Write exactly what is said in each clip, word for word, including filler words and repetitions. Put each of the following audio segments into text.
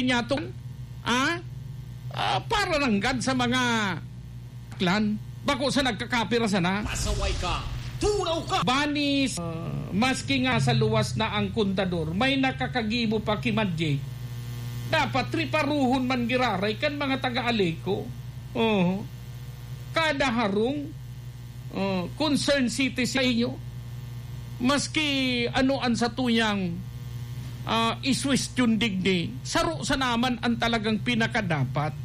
Niya to, ah? Ah, para nanggad sa mga clan. Bako sa nagkakapira sana. Pasaway ka! Tunaw ka! Banis, ah, maski nga sa luwas na ang kontador, may nakakagibo pa ki Madye. Dapat triparuhon man giraray kan mga taga-Aleco. Oo. Kada harong, ah, concern citizen sa inyo. Maski ano an satuyang, ah, iswestyon digdi, saro sana man an talagang pinakadapat.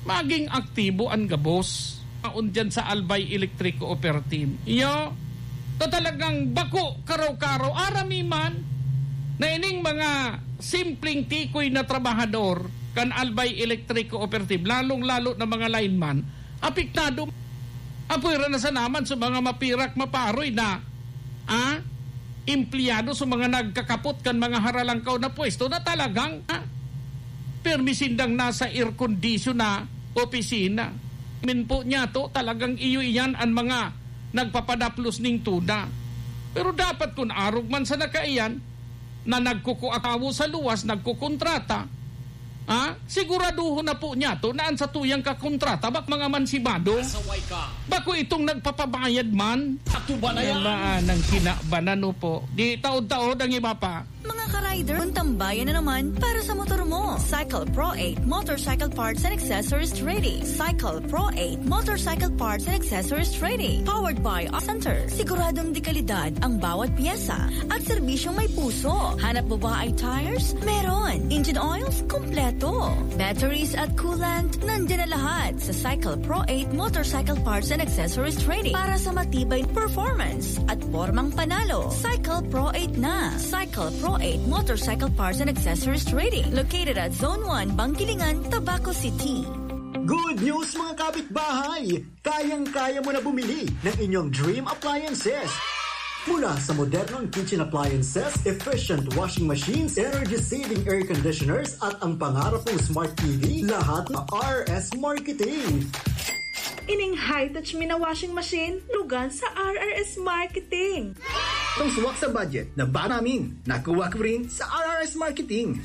Maging aktibo an gabos. Aon diyan sa Albay Electric Cooperative. Iyo, ta talagang bako, karaw-karaw, arami man na ining mga simpleng tikoy na trabahador kan Albay Electric Cooperative, lalong-lalo na mga lineman, apektado. Apoy ra na sa naman sa mga mapirak maparoy na, ah, empleyado sa mga nagkakapot kan mga haralangkaw na pwesto na talagang, ah, permi sindang nasa air condition na opisina. Min po niya to, talagang iyo iyan ang mga nagpapadaplos ning tuda. Pero dapat kun arog man sa nakaiyan, na nagkukuatawo sa luwas, nagkukontrata, ha? Siguraduhon na po niya to na an satuyang kakontrata bak mga mansibado. Pasaway ka. Bako itong nagpapabayad man. Atuba na yan. Yan ba, ah, nang kinabanan, no po? Di taod-taod ang iba pa. Mga ka-rider, tambayan na naman para sa motor mo. Cycle Pro eight Motorcycle Parts and Accessories Trading. Cycle Pro eight Motorcycle Parts and Accessories Trading. Powered by Center. Siguradong dekalidad ang bawat pyesa at serbisyong may puso. Hanap mo ba ay tires? Meron. Engine oils? Kompleto. Batteries at coolant? Nandiyan na lahat sa Cycle Pro eight Motorcycle Parts and Accessories Trading para sa matibay performance at pormang panalo. Cycle Pro eight na. Cycle Pro eight Motorcycle Parts and Accessories Trading, located at Zone one, Bangkilingan, Tabaco City. Good news, mga kapitbahay! Kayang-kaya mo na bumili ng inyong dream appliances. Mula sa modernong kitchen appliances, efficient washing machines, energy-saving air conditioners, at ang pangarap mong smart T V, lahat na R S Marketing. Ining high-touch mi na washing machine, lugan sa R R S Marketing. Itong suwak sa budget na ba namin, nakuha ko rin sa R R S Marketing.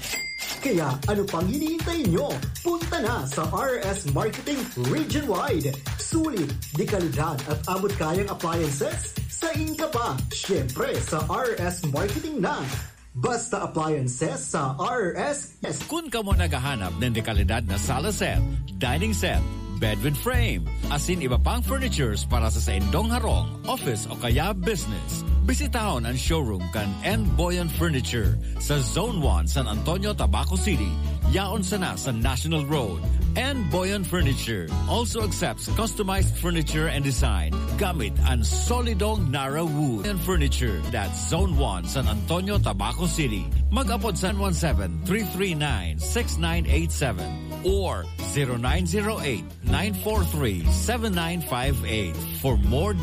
Kaya ano pang hinihintay nyo? Punta na sa R S Marketing Region Wide. Sulit, dekalidad at abot kayang appliances sa inyo pa. Siyempre, sa R S Marketing na. Basta appliances sa R S. Kun kamo naghahanap nin dekalidad na sala set, dining set, bed with frame, asin iba pang furnitures para sa saindong harong, office o kaya business, bisitahon ang showroom kan N Boyan Furniture sa Zone one, San Antonio, Tabaco City. Yaon sana sa National Road. N Boyan Furniture also accepts customized furniture and design gamit ang solidong Nara Wood and Furniture. That's Zone one, San Antonio, Tabaco City. Mag-apod sa one seven, three three nine, six nine eight seven or zero nine zero eight, nine four three, seven nine five eight for more